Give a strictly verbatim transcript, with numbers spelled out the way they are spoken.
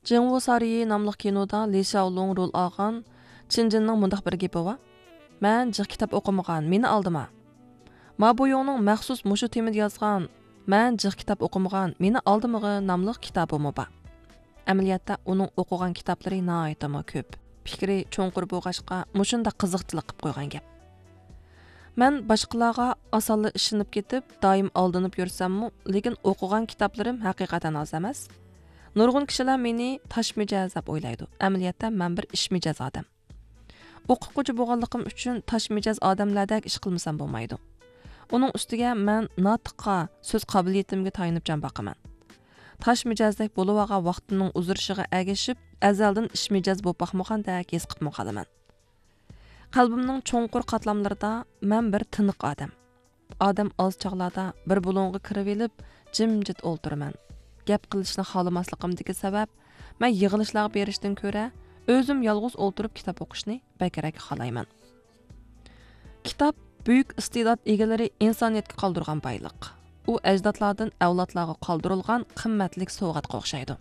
جېڭۋۇ سارىيى ناملىق كىنودا لى شياۋلۇڭ رول ئالغان چىن جىننىڭ مۇنداق بىر گېپى بار: «مەن جىق كىتاب ئوقۇمىغان، مېنى ئالدىما.» ما بويۇڭنىڭ مەخسۇس مۇشۇ تېمىدا يازغان «مەن جىق كىتاب ئوقۇمىغان، مېنى ئالدىمىغىن» ناملىق كىتابىمۇ بار. ئەمەلىيەتتە ئۇنىڭ ئوقۇغان كىتابلىرى ناھايىتىمۇ كۆپ. پىكرى چوڭقۇر بولغاچقا، مۇشۇنداق قىزىقچىلىق قىلىپ قويغان گەپ. مەن باشقىلارغا ئاسانلا ئىشىنىپ كېتىپ، دائىم ئالدىنىپ يۈرسەممۇ، لېكىن ئوقۇغان كىتابلىرىم ھەقىقەتەن ئاز ئەمەس. نۇرغۇن كىشىلەر مېنى تاش مىجەز دەپ ئويلايدۇ. ئەمەلىيەتتە مەن بىر ئىش مىجەز ئادەم. ئوقۇتقۇچى بولغانلىقىم ئۈچۈن تاش مىجەز ئادەملەردەك ئىش قىلمىسام بولمايدۇ. ئۇنىڭ ئۈستىگە مەن ناتىققا، سۆز قابىلىيىتىمگە تايىنىپ جان باقىمەن. تاش مىجەزدەك بولۇۋالغان ۋاقتىمنىڭ ئۇزىرىشىغا ئەگىشىپ، ئەزەلدىن ئىش مىجەز بولۇپ باقمىغاندەك ھېس قىلىپمۇ قالىمەن. قەلبىمنىڭ چوڭقۇر قاتلاملىرىدا مەن بىر تىنىق ئادەم. ئادەم ئاز چاغلاردا بىر بۇلۇڭغا كىرىۋېلىپ، جىمجىت ئولتۇرىمەن. گەپ قىلىشنى خالىماسلىقىمدىكى سەۋەب، مەن يىغىلىشلارغا بېرىشتىن كۆرە، ئۆزۈم يالغۇز ئولتۇرۇپ كىتاب ئوقۇشنى بەكرەك خالايمەن. كىتاب بۈيۈك ئىستېدات ئىگىلىرى ئىنسانىيەتكە قالدۇرغان بايلىق. ئۇ ئەجدادلاردىن ئەۋلادلارغا قالدۇرۇلغان قىممەتلىك سوۋغاتقا ئوخشايدۇ.